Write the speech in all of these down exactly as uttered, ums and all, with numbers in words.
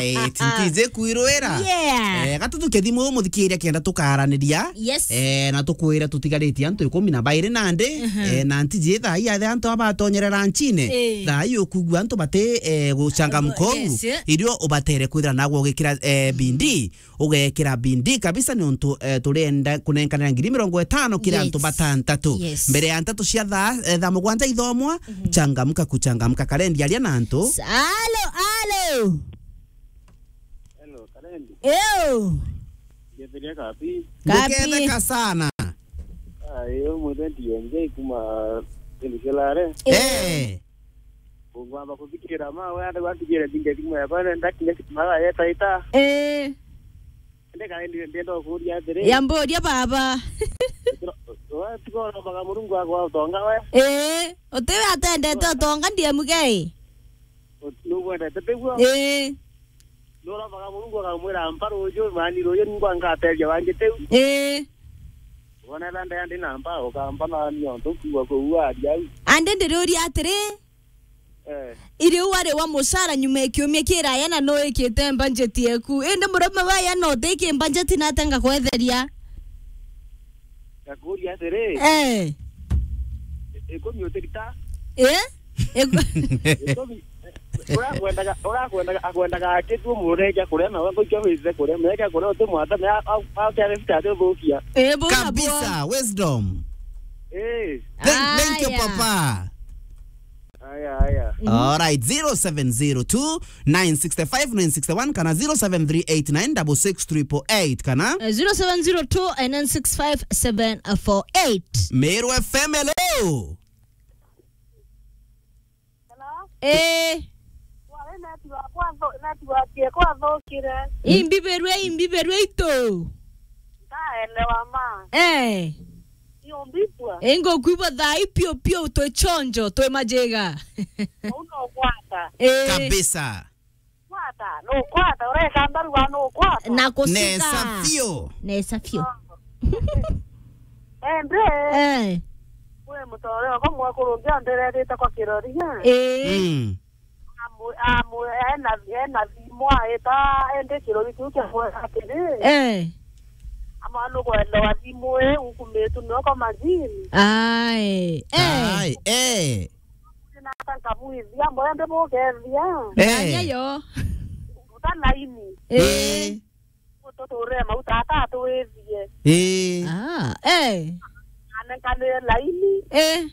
Right, ntiji kwirwira. Yeah. Eh, gatutuke thimu muthikiria kenda tukaraniria. Yes. Eh, na tukwira tutigaritie antu ikumi na bairi nandi. Mhm. Eh, na ntiji thaa ii athe antu abatonyerera nchine. Eh. Thaa ii ukugua antu bati, eh, guchangamka uu. Yes, eh. Irio ubatere kwithira nagwo ugikira, eh, bindi. Ugekira bindi kabisa ni untu, eh, turenda kunenkanira ngiri mirongo itano kira antu batantatu. Yes. Mbere ya ntatu cia thaa, eh, thaa mugwanja ithomwa, mhm, changamka kuchangamka. Karendi aria na antu. Alo, alo. Hello, Karendi. Ew. Ngethiria kapi. Kapi. Nduketheka sana. Ah, iyo mwite D M J kuma Tindikilare. Eh. Ngwamba kuthikira ma we ande gwatigire ndinge thimu yakwa, ndakinya kitima yetaita. Eh. Ende Karendi, ndienda kukuria atiri. Ya mburia baba. Watiga urombaga Murungu akwa utonga we. Eh, utiwe atendete utonga ndiye mugei. Nubwendete tiguo? Ii. Nurombaga Murungu akamwira, "Mpa ruju, mani ruju ningwa ngateethia wangi tiu." Ii. Wona ethira ndea ndi na mpa, ukamba nani ontu kuua kuua aria au. Ande ndiriuria atiri, eh, iri wari wa mucara nyuma ya kiumia kiraya na nuikite mbanjeti yeku. Indi murume waya no utiki mbanjeti na atenga kwetheria. Ngakuria atiri, eh, ikumi utirita? Eh? Iku- Ikumi, urakwendaga, urakwendaga, akwendaga akitu umureja kuria, na we ngoikia withe kuria, meja kuria uti mwata, me a, a, a, kya rifita ati uthukia. Eh, bora kabisa, bwa. Wisdom. Eh. Thank, thank you, aya, papa. Aya, aya. Mhm. All right, zero seven zero two, nine six five, nine six one kana zero seven three eight nine six six triple eight kana, eh, zero seven zero two, nine six five, seven four eight. Meru F M, hello. Hello? Eh. Wale network kwa tho-, network yekwa thokire. Imbiberwe, imbiberwe itu. Ndaelewa ma. Eh. Iyo mbibwa. Ingo kwibwa thai pio pio, twi chonjo, twi majiga. Uno kwata. Eh. Kabisa. Kwata, no kwata, ureka mbaru wa no kwata. Na kusika. Nesa fio. Nesa fio. Ende. Eh. Kwi mutore wako mwakuru ungi andererete kwa kiroria. Eh. Mm. Amu, amu, ena, ena thimu aita, ende kirori kiu kia kwera atiri. Eh. Ama nukwelewa thimu ii, ukumitu nio kwa majini. Ai. Eh. Ai, eh. Nata nkamwithia, mboya ndibukethia. Eh. Anya yo. Uta laini. Eh. Eh. Tuturire mauta ata atwithie. Eh. Ah, eh. Anenkanire laini. Eh.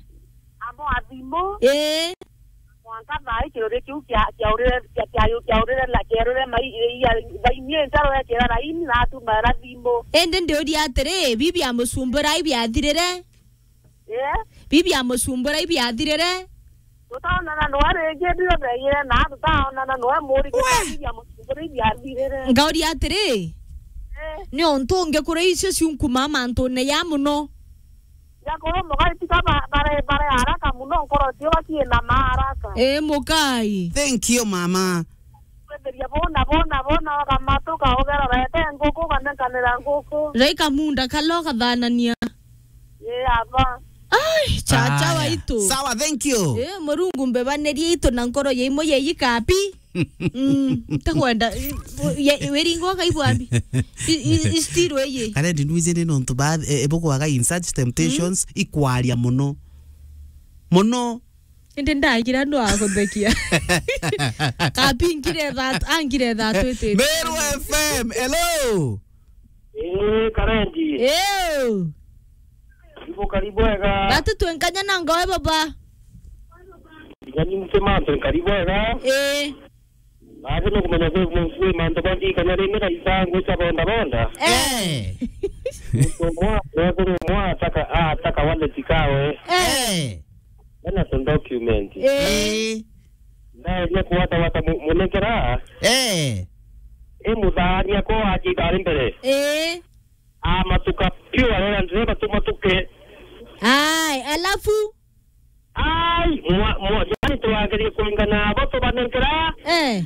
Amo athimo. Eh. Mwanka thaa ii kirori kiu kia, kiaurire, kia, kia, kiaurire la, kiaurire mai, ia, laini ii ntaro ekira laini na atuma era thimu. Indi ndiuria atiri, bibi amucumbura ibiathirire? Eh? Bibi amucumbura ibiathirire? Tutaonana noe ringi, ndirobeire na tutaonana noe muri. We! Bibi amucumbura ibiathirire. Ngauria atiri, eh, ni ontu ungi kuri icio ciunkuma mantune ya muno. Yakuru mugai tika ba-, bare, bare haraka muno, nkoro cio bakiina ma haraka. Eh, mukai. Thank you, mama. Kwenderia bona, bona, bona, ukamatuka, ugerorete nguku, ukanenkanira nguku. Rai kamunda kala ukathanania. Ye, aba. Ai, chacha waitu. Sawa, thank you. Eh, Murungu mbebanirie itu na nkoro ya imwe ya ikapi. Mm, ntakwenda, ye, wiringo kaibwambi. I, i, i still eye. Kana ndi nwije ni nontu ba, e, e, bukwaga in such temptations, mm, ikwaria muno. Muno. Indi ndagira andu a guthekia. Kapi nkire that, angire that witite. Meru F M, hello. Eh, Karendi. Eh. Karibu, karibu wega. Batu twenkanya na ngoe baba. Ngani msema, karibu wega. Eh. Baadhi no kumenya kwi, kwi mantu bandi kana ringi na isangu cha bonda bonda. Eh. Mtu mwa, mwa, mwa ataka, ah, ataka wallet kawe. Eh. Ena tu document. Eh. Eh. Ndaeria kuwata wata mu-, munengera. Eh. E muthania ko aji bari mbere. Eh. Amatuka piu arera ndireba tumatuke. Ai, alafu? Ai, mwa, mwa, yani twagerie kwingana abo tubanengera. Eh.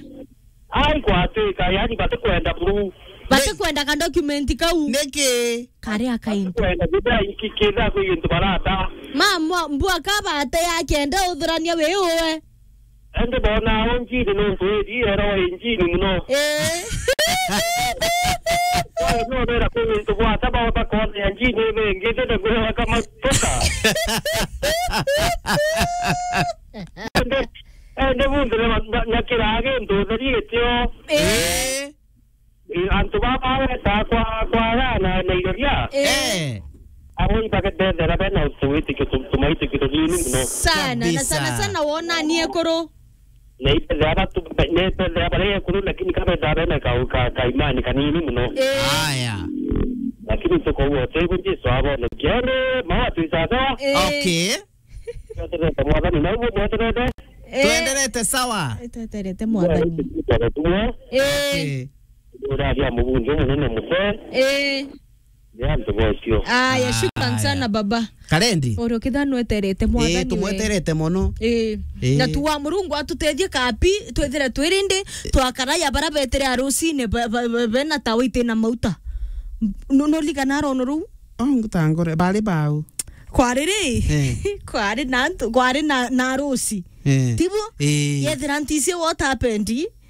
Ai, kwatuika, yani batikwenda buru. Batikwenda ka document kau. Niki? Karia akaintu. Batikwenda githa iki kitha kwi gintu barata. Ma, mwa, mbua ka bate ya kenda uthurania wi uwe. Ende bona o njini nontu iri era o njini muno. Eh. Kwa no bera ku muntu bwata ba ba kona ya njini bengi tete kwa kama toka. Ende, ende muntu na, na, na kirage ndo theri gitio. Eh. Eh. Eh, antu baba beta kwa, kwa gana na iroria. Eh. Eh. Abo ibage bethera bena utu witikio tu-, tumaitikio tunini muno. Sana, na sana sana wona ni ekuru. Na ibethera batu, ne bethera bare ekuru, lakini kabethera bena ka, ka, ka imani kanini muno. Eh. Aya. Lakini tuko wote, ibu Jesu abone. Kiende, mawa tuisaga. Eh. Okay. Tweterete mwathani, na uguo mweterete? Eh. Twenderete sawa. Eh, tweterete mwathani. Mweterete mwathani. Eh. Eh. Uraria mubunge munene muse. Eh. Ni antu bocio. Aya, shukran sana baba. Karendi. Oro kithano eterete mwathani. Eh, tumweterete mono. Eh. Eh. Na tuwa Murungu atutethie kapi, twethire twirindi, twakara ya bara betere arusine, be-, be-, be-, bena tawa ite na mauta. No, no ligana rono ruu? Oh, ngutangore, bari bau. Kwari ri? Eh. Kwari na antu, kwari na, na arusi. Eh. Tibu? Eh. Yethira ntisi what happened?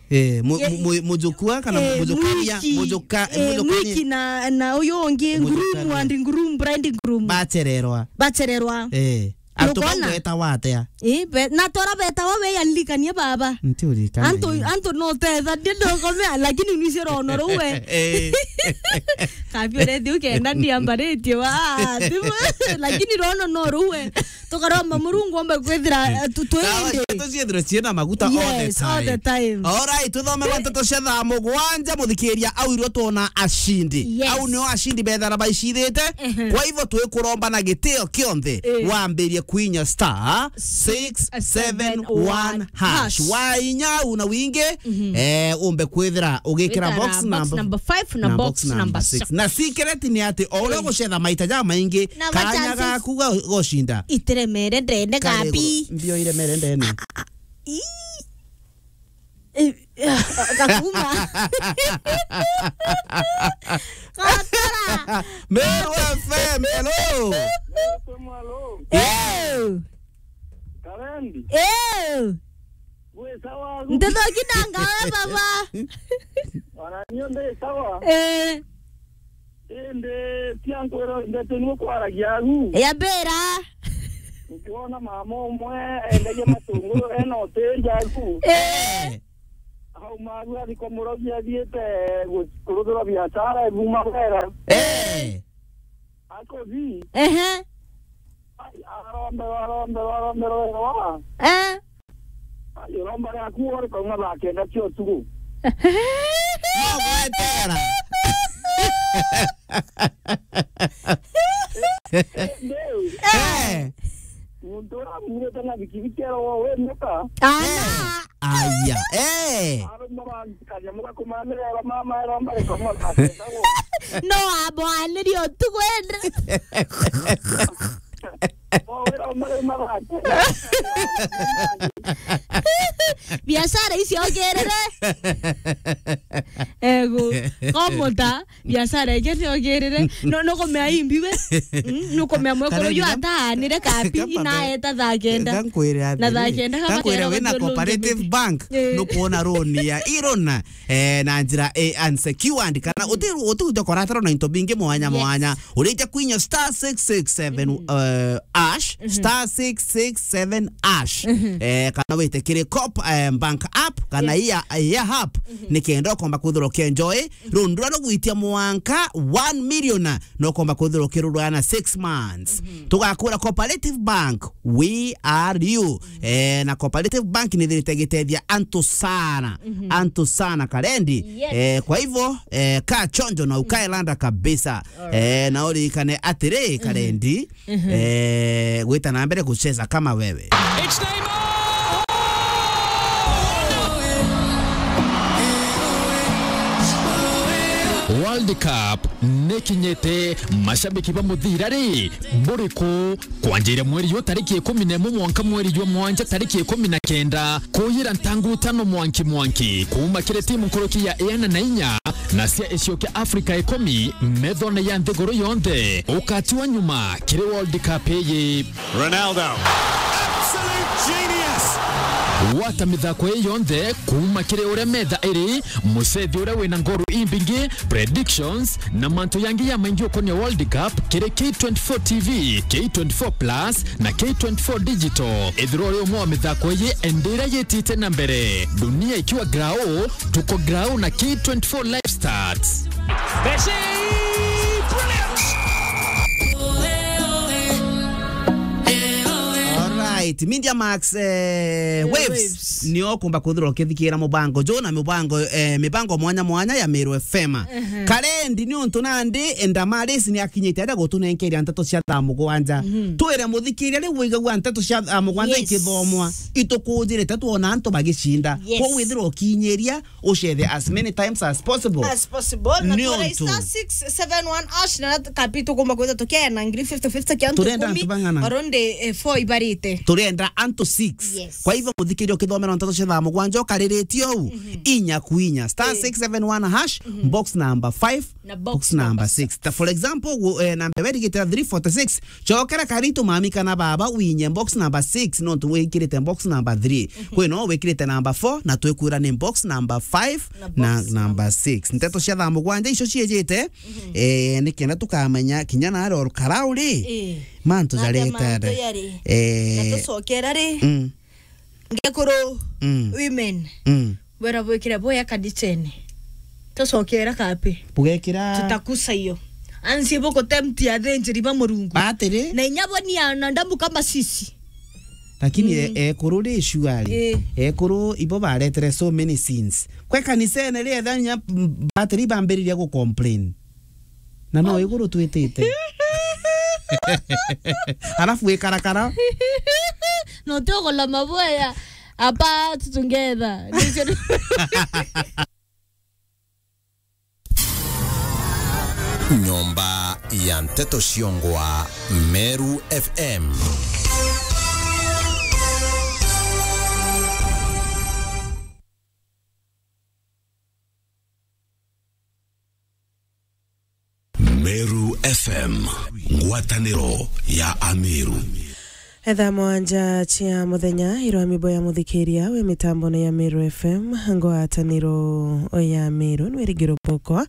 Eh, mu-, Ye-, mu-, mu-, mujukua kana eh, mujukaria, mwiki, mujuka-, eh, mujukaria. Mwiki na, na uyu ungi, groom and groom, bride groom. Bachererwa. Bachererwa. Eh. Antu bau betawa atia? Eh, be-, na tora betawa we ya ndirikania baba. Ntiuririkana. Antu, antu no tetha, ndi ndokomea, lakini nwicio rono ruwe. Eh. Kabi urethi ukenda ndiambaritie wa, tibu, lakini rono no ruwe. Tukaromba Murungu ombe kwithira, eh, tu-, twende. Ndawa cietu ciethirwe ciina maguta all the time. Yes, all the time. All right, tuthome gwa nteto cia thaa mugwanja, muthikiria au irwo twona ashindi. Yes. Au nio ashindi bethara baicithite. Ehe. Kwa hivyo twikuromba na gitio kionthe, eh, wambirie kuinya star six seven one hash. Wainya au na wingi, mhm, eh, umbe kwithira ugikira wikara box box number, number five na na box box number number six. Six. Na secret ni ati o uria, eh, ugucetha maita jamaingi, na kanya chances gaku ga gucinda itiremere ndene kari gapi iguru. Mbio iremere ndene. Ii. Eh, gakuma. Gakora. Meru F M, hello. Hello. Eh. Karendi. Eh. Gwi sawa agu? Ntetho kinanga we baba. Ona nio ndi sawa. Eh. Indi tia nkwira ndeto niwe kwaragia agu. Ya mbira. Ukiona mama umwe endagia matunguru ena hoteli agu. Eh. Auma agu athi kwa murogi athiite gu-, kuruthira biashara ebuma wera. Eh. Akothi. Ehe. Ai, arombe, arombe, arombe, arombe. Eh. Ai, uromba riaku uri kauma thaa kenda cia utuku. No gwetera. Indi, eh, muntu uria amurite na bikibiki arogwa wi muka. Ana. Eh. Aya. Eh. Arumba bantu kanyamu gakumanirira mama aromba ri kauma thaa kenda gu. No abwanirie utuku indi. Biashara icio ongerere. Ego, komuta, biashara ingi ni ongerere. No, no kumea imbi we. Mm, no kumea mwekuru yu ataanire kapi, ina eta thaa kenda. Gankwire na thaa kenda kama gankwire kera wina cooperative bank, eh, no kuona loan ya irona. Eh, na njira, eh, unsecured, kana uti, uti uja koratara na into bingi mwanya, yes, mwanya. Urija kwinya star six six seven, mhm, eh, hash, mhm, star six six seven hash. Mhm. Eh, kana wite kiri Coop, eh, Bank app, kana, yes, iya, iya app, mhm, nikenda ukomba kwithirwa ukienjoy. Mhm. Rundu ruria rugwitia mwanka one million, no ukomba kwithirwa ukirurwa na six months. Mhm. Tugakura Cooperative Bank, we are you. Eh, na Cooperative Bank nithirite gitethia antu sana. Mhm. Antu sana, Karendi. Yes. Eh, kwa hivyo, eh, kaa chonjo na ukae landa kabisa. Alright. Eh, na uririkane atiri, mhm, Karendi, mhm, eh, gwita na mbere kucheza kama wewe. It's Neymar! World Cup nikinyite, mashabiki ba muthira ri, buri ku? Kwanjira mweri yu tariki ikumi na imwe mwanka mweri jwa mwanja tariki ikumi na kenda, kuyira ntangu tano mwanki mwanki, kuuma kiri timu nkuruki ya iana na inya na cia icio kia Africa ikumi methone ya nthiguru yonthe, ukatiwa nyuma kiri World Cup iyi. Ronaldo. Absolute genius. Gwata mithako ii yonthe kuuma kiri uria metha iri, mucethi uria wina ngoru imbingi, predictions, na mantu yangi ya maingi ukonia World Cup kiri K twenty-four T V, K twenty-four Plus, na K twenty-four Digital. Ithirwa uri umwe wa mithako ii, enda iria yitite na mbere. Dunia ikiwa grau, tuko grau na K twenty-four Live Stats. Messi! Brilliant! Alright, Media Max, eh, Waves, Waves. Nio kumba kwithirwa ukithikira mubango jo na mubango, eh, mibango mwanya mwanya ya Meru F M. Karendi ni untu nandi, Enda Maris ni akinyite aja gutunenkeria nteto cia thaa mugwanja. Twire muthikiria riu wigagua nteto cia thaa mugwanja ikithomwa, itukujirite twona antu bagicinda. Yes. Koguo withirwa ukinyiria, ucethe as many times as possible. As possible, na ni twire untu star six seven one hash, na kapi tukumba kwitha tukiana ngiri fifty fifty kia antu turenda ikumi, antu bang'ana? Around, eh, four ibarite. Turenda antu six. Yes. Kwa hivyo, muthikiria ukithomera nteto cia thaa mugwanja ukariritie uu, inya ku inya, star six seven one hash, box number five, na box number six. Ta for example, gu-, eh, namba iria irigite three forty-six, cokera karitu mami kana baba, winye box number six, nontu wikirite box number three. Kwi no wikirite number four, na twikwira ni box number five na number six. Nteto cia thaa mugwanja icio ciijite, eh, ni kenda tukamenya kinya naari o rukara uri, mantu jaretera. Eh. Na tucokera ri? Mm. Ngekuru, mm, women. Mm. Bwera bwikire boya kanichene. Tucokera kapi? Bugekira. Tutakusa iyo. Ansi bukutemti athinjiri ba Murungu. Atiri? Na inya bo ni ana ndamu kama sisi. Lakini e-, ekuru ri shuari. Eh. Ekuru ibo baretere so many sins. Kwe kanisene ri etha nya, mm, batiri bambiriria gu complain. Na no iguru twitite. Alafu wikarakara. No ti ugula maboya. Apa tutungetha. Nyomba ya nteto ciongwa Meru F M. Meru F M, ngwataniro ya Ameru. Etha mwanja cia muthenya, irwami boya muthikiria wi mitambone ya Meru F M, ngwataniro ya Meru, nwi Rigiro Boko.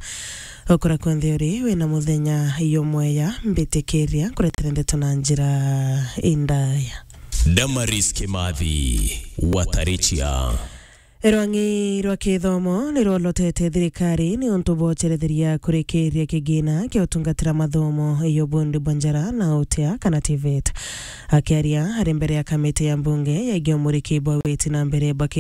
Ukura kwonthe uri, wina muthenya yomweya, mbitikiria nkuretera ndeto na njira indaya. Damaris Kimathi, Watarichia. Rwang'i rwa kithomo ni rwolotete thirikari ni untu bwa uceretheria kurikiria kigina kia utungatira mathomo ya ubundi bwa njara na utia kana TVET. Akiaria ari mbere ya kamiti ya mbunge ya igia umuriki bwa witi na mbere bwa